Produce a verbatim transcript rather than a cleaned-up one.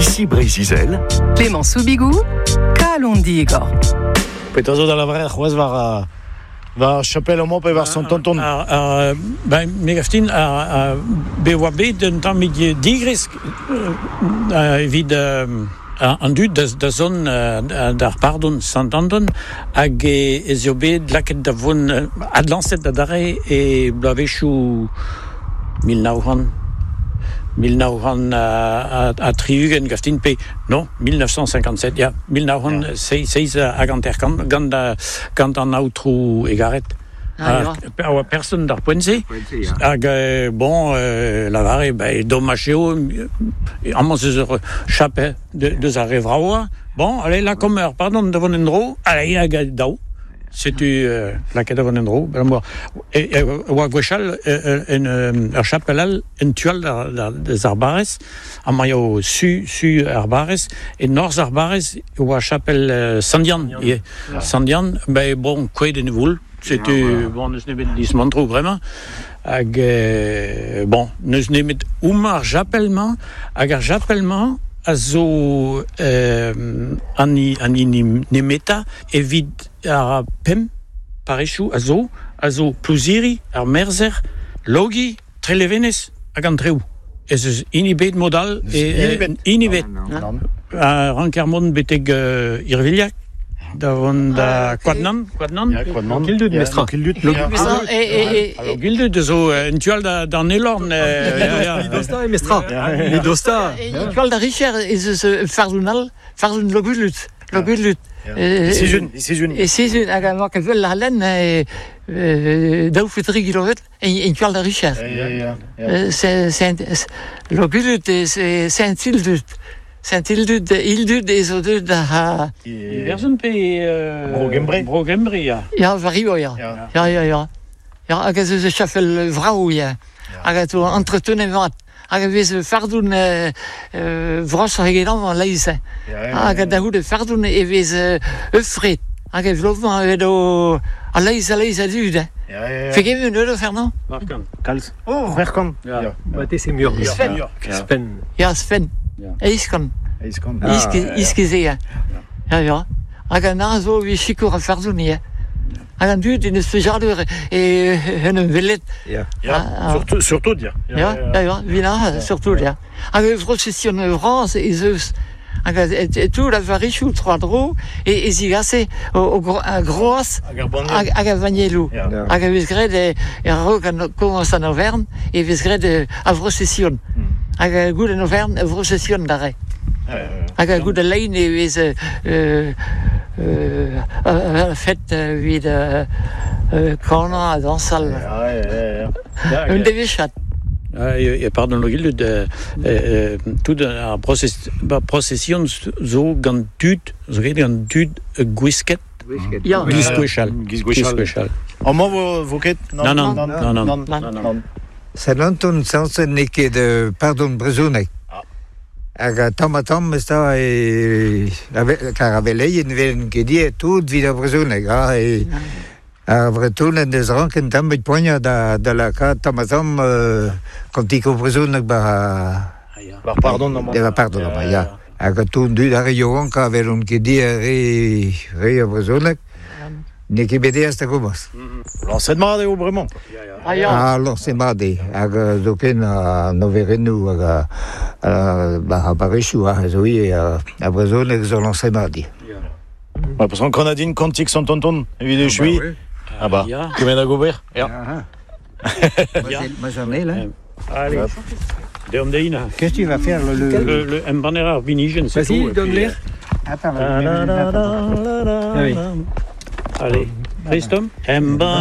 Ici Breizh-Izel. Clément Soubigou, Kalon Digor. Petra zo da lavaret c'hoazh war a war chapel amañ pe war Sant-Anton. Ar, ar, ben, me gav din, ar, ar, be oa bet un tammig digresk euh, evit euh, an dud da, da zon euh, d'ar pardon Sant-Anton hag e, ez eo bet laket da vont euh, adlañset da dare e bloavezhioù mil nav c'hant mil nav c'hant ha, ha tri-ugent gav din pe non mil neuf cent cinquante-sept ya mil nav c'hant seizh hag hanter-kant gant gant an aotrou Egaret. Ah, Ah, a oa person d'ar poent-se. Hag euh, bon, euh, lavare, ben, domaj eo, amañ zeus ur chapel de, deus ar re vraoa. Bon, allez, là, comme ur pardon da vont en-dro, allez, hag daou. Setu euh, lakaet da vont en-dro. Ben, moi, e, e, oa gwechall, euh, en, euh, ur chapel all, en tual d'ar, d'ar, deus ar barrez, amañ eo su, su ar barrez, e norzh ar barrez, oa chapel euh, Sant-Yann. Yeah. Sant-Yann, ben, bon, kouezhet en e voul. Setu, bon, n'eus nemet dismantroù bremañ. Hag, euh, bon, n'eus nemet homañ ar chapel-mañ, hag ar chapel-mañ a zo euh, an i, an hini nemetañ evit ar pemp parrezioù a zo, a zo Plouziri, ar Merzer, Logi, Trelevenez hag an Treoù. Ez eus hini bet mod all, e, hini bet. hini bet. Nann. A ranker mont betek euh, Irvilhag, da vont da Koadnan, Koadnan. Ya, Koadnan. Kildud, Ya, mestra. Kildud. Log- Ya. Ah, e, e, e, Alors, Gildud zo euh, en tual da, d'an Elorn. Euh, ya, ya. Dosta e mestra. E dosta. e, e tual da Richer ez eus euh, fardun all, fardun Logulut, Logulut. E Sizun, e Sizun. E Sizun, hag a ket vel ar lenn, e, e, daou pe tri kilometr, en, en tual da Richer. Ya, ya, ya. Euh, c'est, c'est, Logulut, c'est Saint-Ildut. Saint-Ildud, Ildud ez o deut da... Iwerzhon pe... Euh, Bro Gembre. Bro Gembre, ya. Ya, vario, ya. Ya. Ya, ya, ya. Ya, hag ez eus chapel vrao, ya. Hag a to entretene vat. Hag a vez fardun euh, euh, vras eget amañ leiz. Ya, ya, Hag a da c'houde fardun e vez euh, eufret. Hag e vlovañ evet o a leiz a leiz a dud. Ya, ya, ya. Fegement eus Fernand? Barkan. Kalz. Oh, c'hwec'h Ya. Ya. Ba te c'est mur. Sven. Sven. Ya, Sven. Ya. Eizh kant. Eizh kant. Iske, iske ze, ya. Ya, ya. Hag an a zo vi sikour a fardun, ya. Hag an dud en eus plijadur e en un velet. Ya. Ya, Ah, ah. surtout, surtout, ya. Ya, ya, ya, vina, surtout, ya. Hag e procession vras ez eus. Hag a, et, et tout la varichou trois dro e, e zigase o, o gro, a groaz Hag ar banniel. hag, hag a vanielou. Ya. Hag a vez graet e, e a-raok an komañs an overn, e vez graet e, a procession. Hag a gout an overn a procession d'arre. Ya, ya, ya. Hag a gout a lein e vez euh, euh, euh, a, a fet evit euh, euh, kanañ ha dañsal. Ya, ya, ya, ya. Un devezhad. Ah, e, e pardon Logildud, euh, euh, tout ar process, ba, procession zo gant tud, zo graet gant tud gwisket, Ya. giz gwechall. Giz gwechall. Giz gwechall. Amañ vo, vo ket? Non, non, non, non, non, non, non. Sant-Anton sañset n'eo ket euh, pardon brezhoneg. Hag a tamm ha tamm ez da e... Kar a veleien velen ket die tout vid ar brezhoneg. Ha, e, ar Vretonen deus ranken tamm bet poagnañ da, da lakaat tamm ha tamm euh, kantiko brezhoneg ba... Bar pardon, amañ. Da pardon, amañ, ya. Hag a tout dud ar re yaouank a velont ket die re, re ar brezhoneg. N'eo ket bet aes da gomañs. Lañset mat eo bremañ. Ah, ya. Ah, lañset mat eo. Hag euh, zoken an overennoù hag a, a, ba, a barrezioù, ha, zo ivez a, a brezhoneg zo lañset mat eo. Ouais, parce qu'en Canadien, kantik Sant-Anton, evit echui. Ah bah, Ya. kement da gober. Ya. Ya. Ma j'en ai, là. Allez, deomp dein. Qu'est-ce que tu vas faire, le... le... Le, le embanner ar binijen, c'est Vas-y, tout. et donne puis, l'air. Attends, euh, Ah oui. Allez, Christophe, embanner